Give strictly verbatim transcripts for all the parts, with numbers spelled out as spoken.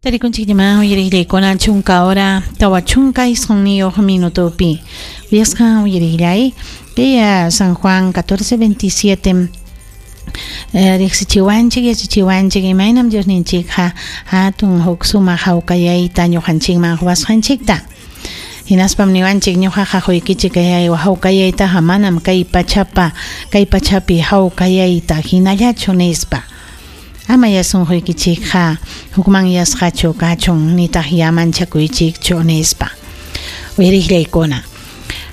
Tarikunchikllaman uyariqllaykuna chunka hora tawa chunka isqunniyuq minutopi. Uyasqa uyariqllay kay San Juan catorce veintisiete riqsichiwanchik yachachiwanchik imaynam Diosninchikqa hatun huk sumaq hawkayayta ñuqanchikman quwasqanchikta. Hinaspam niwanchik ñuqaqa quykichik kay hawkayaytaqa manam kay pachapa kay pachapi hawkayayta hinallachu nispa. Ama yasunquykichikqa hukmanyasqachu kachun nitaq yamanchakuychikchu nispa. Uyariqllaykuna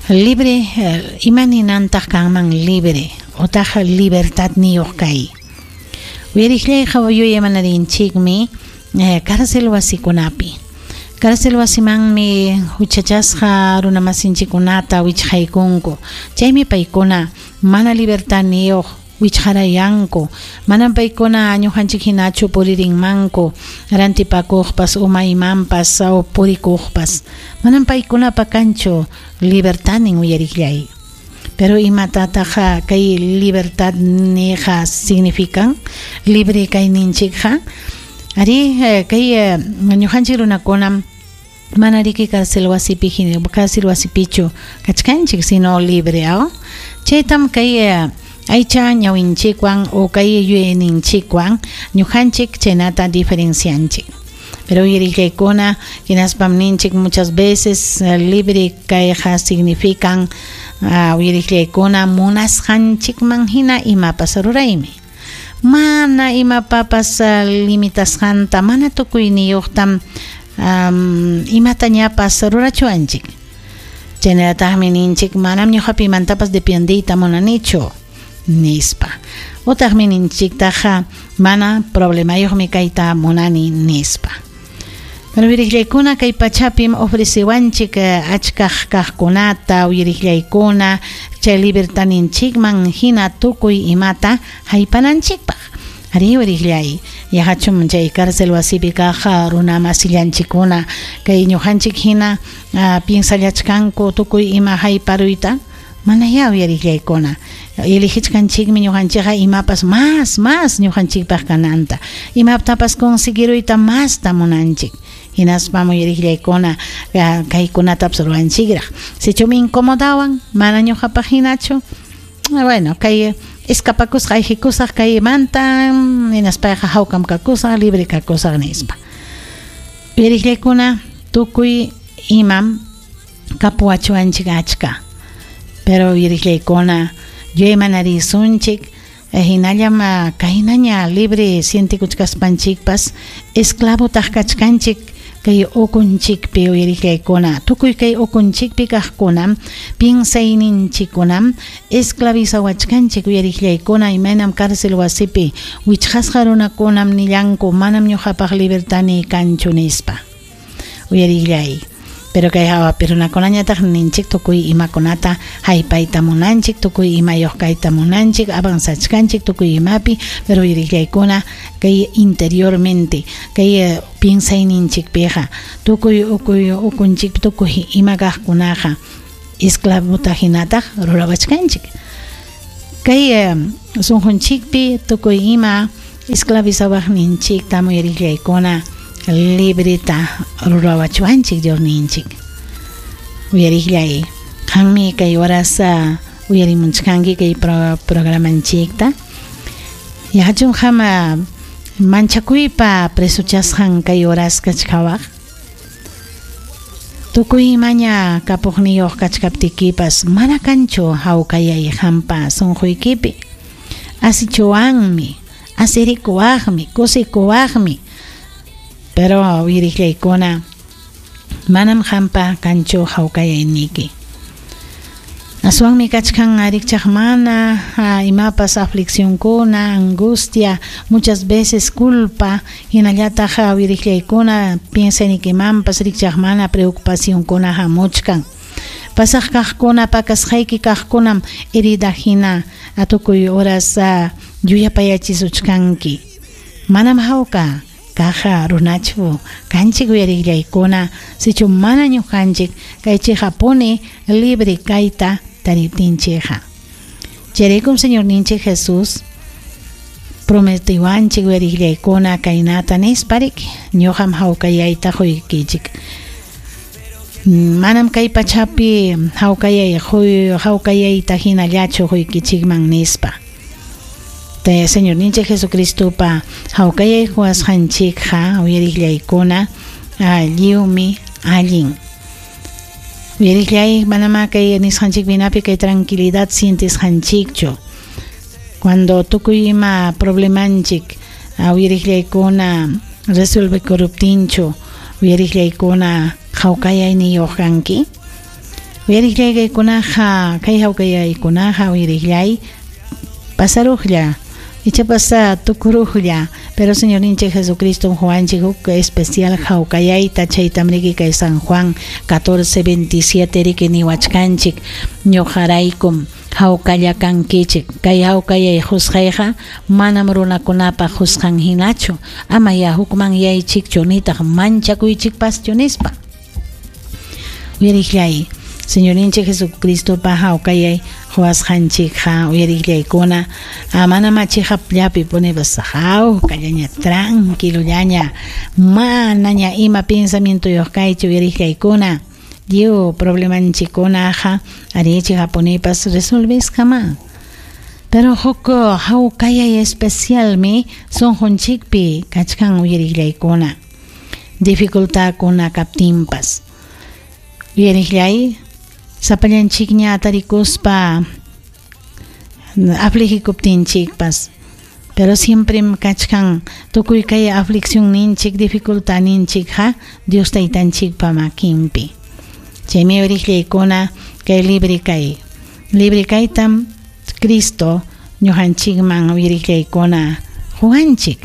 libre imaninantaq kanman libre otaq libertadniyuq kay. Uyariqllayqa yuyaymanadinchikmi cárcel wasikunapi. Cárcel wasimanmi huchachasqa runamasinchikkunata wichqaykunku. Chaymi paykuna mana libertadniyuq wichqarayanku. Manam paykuna ñuqanchik hinachu puririnmanku rantipakuqpas umaymanpas o purikuqpas. Manam paykunapa kanchu libertadnin uyariqllay. Pero imatataq kay libertad niqa significan libre kayninchikqa. Ari kay ñuqanchik runakunam mana riki cárcel wasipi cárcel wasipichu kachkanchik sino libre aw. Chaytam kay aycha ñawinchikwan o kay yuyayninchikwan ñuqanchik chaynata diferencianchik. Pero uyariqllaykuna hinaspam ninchik muchas veces libre kayqa significan uyariqllaykuna munasqanchikman hina imapas ruraymi. Mana imapapas limitasqanta mana tukuyniyuqtam um, imatañapas rurachuanchik. Chaynallataqmi ninchik manam ñuqapimantapas dependeyta munanichu nispa. Utaqmi ninchiktaqa mana problemayuqmi kayta munani nispa. Pero uyariqllaykuna kay pachapim ofrecewanchik achkaq kaqkunata uyariqllaykuna chay libertadninchikman hina tukuy imata haypananchikpaq. Ari uyariqllay yaqachum chay cárcel wasipi kaq runa masillanchikkuna kay ñuqanchik hina piensallachkanku tukuy ima hayparuyta. Manayá uyariqllaykuna eligichkanchikmi ñuqanchikqa imapas más más ñuqanchikpaq kananta imatapas conseguiruyta masta munanchik. Hinaspam uyariqllaykuna kaykunatapas ruwanchikraq. Sichumi incomodawan mana ñuqapaq hinachu bueno kay escapakusqa ayqikusaq kaymanta hinaspayqa hawkam kakusaq libre kakusaq nispa. Uyariqllaykuna tukuy imam kapuwachuanchik achka. Pero uyariqllaykuna yuyaymanarisunchik hinallam kaynaña libre sientikuchkaspanchikpas esclavotaq kachkanchik kay ukunchikpi uyariqllaykuna tukuy kay ukunchikpi kaqkunam piensayninchikkunam esclavizawachkanchik uyariqllaykuna imaynam cárcel wasipi wichqasqa runakunam nillanku manam ñuqapaq libertadniy kanchu nispa. Uyariqllay. Pero kay hawapi runakunañataq ninchik tukuy imakunata haypayta munanchik tukuy imayuq kayta munanchik avanzachkanchik tukuy imapi pero uyariqllaykuna kay interiormente kay piensayninchikpiqa tukuy ukuy ukunchik tukuy ima kaqkunaqa esclavota hinataq rurawachkanchik. Kay sunqunchikpi tukuy ima esclavizawaqninchikta uyariqllaykuna libreta rurawachuanchik Diosninchik. Uyariqllay qanmi kay horas uyarimunchkanki kay pro, programanchikta. Yachun qama manchakuypa presuchasqan kay horas kachkawaq. Tukuy imaña kapuqniyuq kachkaptikipas mana kanchu hawkayay qampa sunquykipi. Asichuwanmi, asirikuwaqmi, kusikuwaqmi. Pero uyariqllaykuna manam qampa kanchu hawkayayniyki. Aswanmi kachkan rikchaq mana imapas afliccionkuna, angustia, muchas veces culpa, hinallataq uyariqllaykuna piensaynikimanpas rikchaq mana preocupacionkuna hamuchkan. Pasaq kaqkuna pakasqayki kaqkunam herida hina tukuy horas yuyapayachisuchkanki. Manam hawka kaja runachu kanchik uyariqllaykuna sichu mana ñuqanchik kaychiqapuni libre kayta tariptinchikqa. Chayraykum Señorninchik Jesús prometiwanchik uyariqllaykuna kaynata nispariki ñuqam hawkayayta quykichik. Manam kay pachapi hawkayay hawkayayta hinallachu quykichikman nispa. Te Señorninchik Jesucristopa hawkayay quwasqanchikqa uyariqllaykuna lliwmi allin. Uyariqllay manama kay nisqanchik binapi kay tranquilidad sientisqanchikchu. Cuando tukuy ima problemanchik uyariqllaykuna resuelve koruptinchu uyariqllaykuna hawkayayniyuq kanki. Uyariqllaykunaqa kay hawkayaykunaqa uyariqllay pasaruqlla ichapas tukuruqlla, pero Señorninchik Jesucristo Juanchik huk especial hawkayayta chaytam riki kay San Juan catorce veintisiete riki niwachkanchik ñuqaraykum hawkalla kankichik kay hawkayay qusqayqa manam runakunapaq qusqan hinachu ama ya hukman yaychikchu nitaq manchakuychikpaschu nispa. Uyariqllay Señorninchik Jesucristopa hawkayay quwasqanchikqa uyariqllaykuna manam chiqapllapi punipas hawkallaña tranquilollaña manaña ima pensamientoyuq kaychu uyariqllaykuna lliw problemanchikkunaqa ari chiqapunipas resolvesqama. Pero huk hawkayay especialmi sunqunchikpi kachkan uyariqllaykuna dificultadkuna kaptinpas. Uyariqllay sapallanchikña tarikuspa afligikuptinchikpas, pero siempre kachkan tukuy kay aflicción ninchik dificultad ninchikqa Dios taytanchikpa makinpi. Chaymi uyariqllaykuna kay libre kay libre kaytam Cristo ñuqanchikman uyariqllaykuna quwanchik,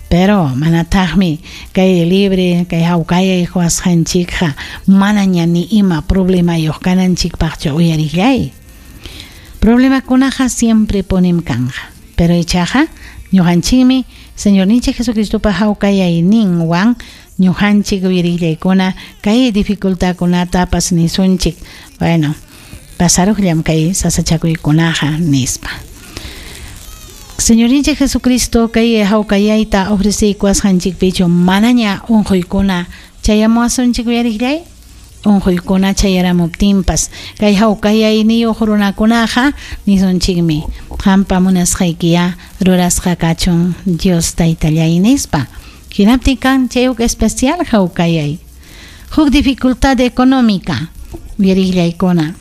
pero manataqmi kay libre kay hawkayay quwasqanchikqa manaña ni ima problemayuq kananchikpaqchu uyariqllay. Problemakunaqa siempre punim kanqa, pero ichaqa ñuqanchikmi Señorninchik Jesucristopa hawkayayninwan ñuqanchik uyariqllaykuna kay dificultadkunatapas nisunchik, bueno, pasaruqllam kay sasachakuykunaqa nispa. Señorninchik Jesucristo kay hawkayayta ofreceykuwasqanchikpichu manaña unquykuna chayamuwasunchik uyariqllay. Unquykuna chayaramuptinpas kay hawkayayniyuq runakunaqa nisunchikmi qampa munasqaykiya rurasqa kachun Dios taytallay nispa. Hinaptin kan chay huk especial hawkayay. Huk dificultad económica uyariqllaykuna.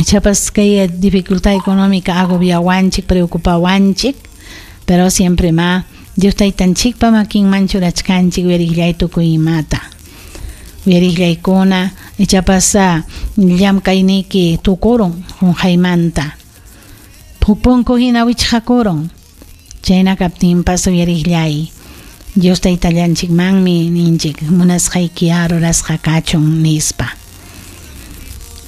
Ichapas kay dificultad económica agobiawanchik preocupawanchik, pero siempre ma Dios taytanchikpa makinman churachkanchik uyariqllay tukuy imata. Uyariqllaykuna ichapas llamkayniyki tukurun qunqaymanta huk punku hina wichqakurun chayna kaptinpas uyariqllay Dios taytallanchikmanmi ninchik munasqaykiya rurasqa kachun nispa.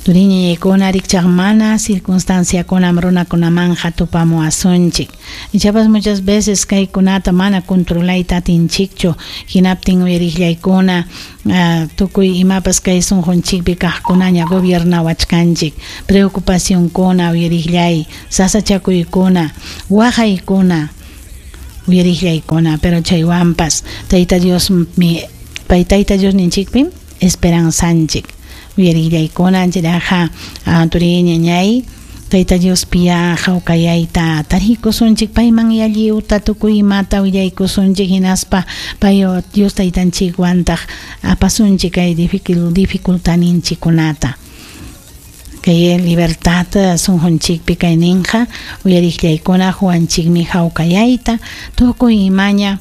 Turiñaykuna rikchaq mana circunstanciakunam runakunamanqa tupamuwasunchik. Ichapas muchas veces kaykunata mana controlayta atinchikchu hinaptin uyariqllaykuna uh, tukuy imapas kay sunqunchikpi kaqkunaña gobiernawachkanchik preocupacionkuna uyariqllay sasachakuykuna waqaykuna uyariqllaykuna, pero chaywanpas Tayta Diosmi pay Tayta Diosninchikpim esperanzanchik. Uyariqllaykuna ancharaqa turiñañay Tayta Diospiya hawkayayta tarikusunchik payman yalliwta tukuy imata willaykusunchik hinaspa pay Dios taytanchikwantaq apasunchik kay dificultadninchikkunata. Kay libertad sunqunchikpi kayninqa uyariqllaykuna quwanchikmi hawkayayta tukuy imaña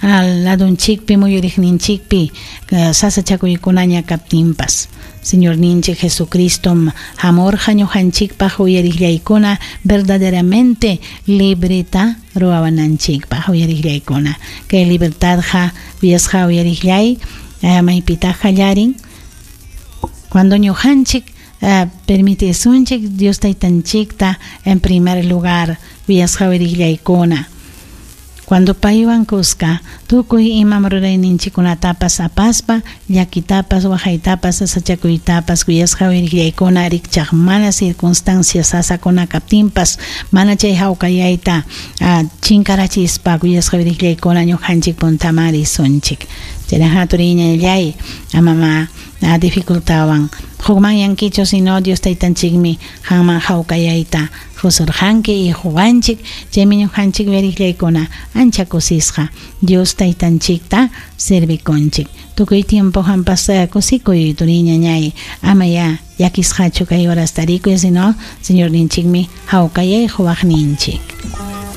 al ladunchikpi muyuriqninchikpi sasachakuykunaña kaptinpas. Señorninchik Jesucristom hamurqa ñuqanchikpaq uyariqllaykuna verdaderamente libreta ruwawananchikpaq uyariqllaykuna. Kay libertadqa uyasqa uyariqllay maypitaq qallarin cuando ñuqanchik Uh, permitisunchik Dios taytanchikta en primer lugar uyasqa uyariqllaykuna. Cuando paywan kuska tukuy imam rurayninchikkunatapas apaspa llakitapas waqaytapas sasachakuytapas kuyasqa uyariqllaykuna rikchaq mana circunstancias sasakuna kaptinpas mana chay hawkayayta chinkarachispa kuyasqa uyariqllaykuna ñuqanchik puntaman risunchik. Chaynaqa turiñallay amama dificultawan hukman yankichu sino Dios taytanchikmi qanman hawkayayta qusurqanki y huwanchik chaymi ñuqanchik uyariqllaykuna ancha kusisqa Dios taytanchikta servikunchik. Tukuy tiempo qampas kusikuy turiñañay ama ya llakisqachu kay horas tarikuy sino Señorninchikmi hawkayay quwaqninchik.